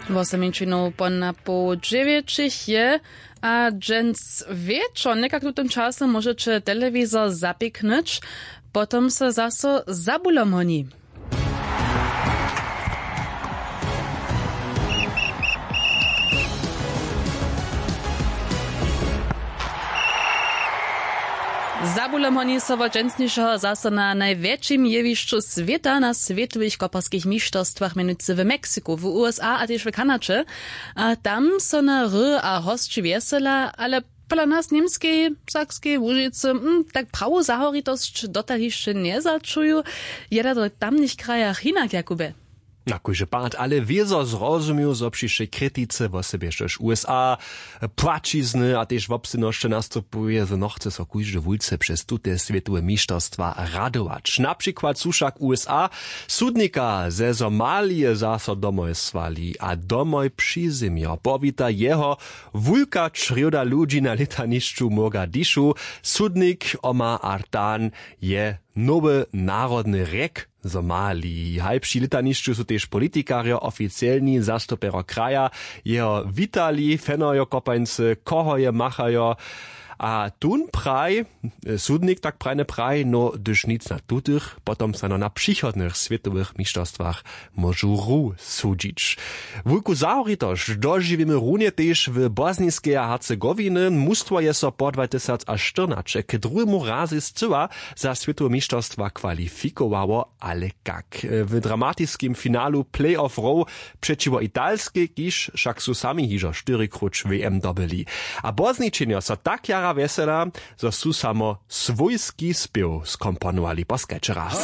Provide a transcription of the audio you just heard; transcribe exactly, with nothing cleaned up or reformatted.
Woseminčinow po napoł dźewjećich je, a dźens wječor někak w tutym času móžeće telewizor zapiknyć, potom so zaso zabulom honi. Zabulom honi so wot dźensnišeho zaso na najwjetšim jewišću swěta, na swětowych koparskich mišterstwach, mjenujcy w Meksiku, w U S A a tež w Kanadźe. A tam so na ry a hosći wjesela, ale pola nas w Němskej, Sakskej, Łužicy, hm, tak prawu zahoritosć dotal hišće njezačuju. Je da w tamnych krajach hinak, Jakubje? Na kóždy pad ale wězo zrozumił, zo při wšej kritice, wosebje štož U S A, płaćizny a tež wobsydnosće nastupuje, zo nochce so kóždy wulce přez tute swětowe mišterstwa radować. Na přikład su wšak U S A sudnika ze Somalije zaso domoj słali a domoj přizymjo. Powita jeho wulka črjóda ludźi na lětanišću w Mogadišu. Sudnik Omar Artan je nowy narodny rjek Somaliji. Haj při lětanišću su tež politikarjo, oficielni zastupjerjo kraja jeho witali, fenojo kopańcy, koho je machajo. A tón praj, sudnik tak prajnje praj, no hdyž nic na tutych, potom snano na přichodnych swětowych mišterstwach móžu ru sudźić. Wulku zahoritosć dožiwimy runje tež w Bosniskej a Hercegowiny. Mustwo je so po dwatysacštyrnaće k druhemu razej scyła za swětowe mišterstwa kwalifikowało, ale kak? W dramatiskim finalu playoff row přećiwo Italskej, kiž wšak su sami hižo štyrikróć W M dobyli. A błozničenjo so tak jara wjesela, zo su samo swójski spěw skomponowali. Poskajće raz.